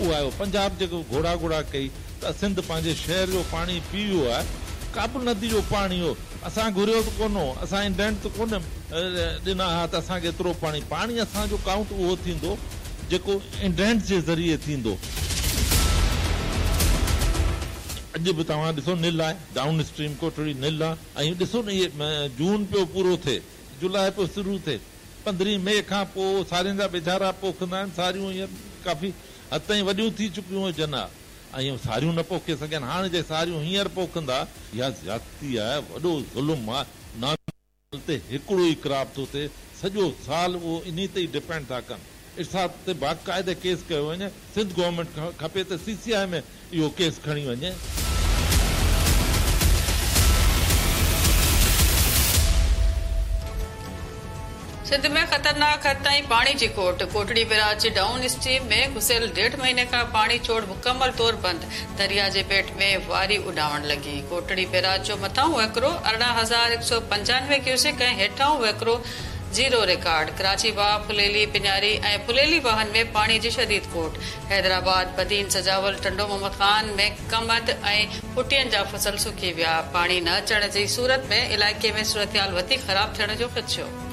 اهو آيو. پنجاب جيڪو گهوڙا گهوڙا ڪئي ته سنڌ پنهنجي شهر جو پاڻي پي ويو آهي. ڪابل ندي جو پاڻي هو. اسان گهريو ته ڪونه هو. اسان انڊينٽ ته ڪونه ڏنا ها ته اسان کي ايترو پاڻي. پاڻي اسان جو ڪائونٽ اهو ٿيندو جيڪو انڊينٽ جي ذريعي ٿيندو. اڄ به توهان ڏسو نل آهي. ڊائون اسٽريم ڪوٽڙي نل آهي ۽ ڏسو نه اهي جون پيو پورو ٿئي. جولاء پيو شروع ٿئي. پندرهين مئي کان پوء سارين جا ٻيجارا پوکندا آهن. ساريون هينئر ڪافي حد تائين وڏيون ٿي چڪيون هجن ها ۽ ساريون نه پوکي سگهيا آهن. هاڻ جي ساريون هينئر پوکندا. اها زيادتي آهي، وڏو ظلم آهي. نارمل تي هڪڙو ئي ڪراپ ٿو ٿئي، سڄو سال اهو انهي تي ئي ڊپينڊ ٿا ڪن. ارسا تي باقاعده ڪيس ڪيو وڃي. سنڌ گورنمينٽ کي کپي ته سي سي آء ۾ اهو ڪيس کڻي وڃي. سنڌ ۾ خطرناڪ حد تائين پاڻي جي کوٽ، ڪوٽڙي بئراج جي ڊائون اسٽريم ۾ گذريل ڏيڍ مهيني کان پاڻي ڇوڙ مڪمل طور بند، درياء جي پيٽ ۾ واري اڏامڻ لڳي، ڪوٽڙي بئراج جو مٿاهون وهڪرو 18,195 ڪيوسڪ ۽ هيٺاهون وهڪرو زيرو رڪارڊ، ڪراچي واهه، ڦليلي، پڃاري ۽ ڦليلي واهن ۾ پاڻي جي شديد کوٽ، حيدرآباد، بدين، سجاول، ٽنڊو محمد خان ۾ ڪمند ۽ ڦٽين جا فصل سڪي ويا، پاڻي نه اچڻ جي صورت ۾ علائقي ۾ صورتحال وڌيڪ خراب ٿيڻ جو خدشو.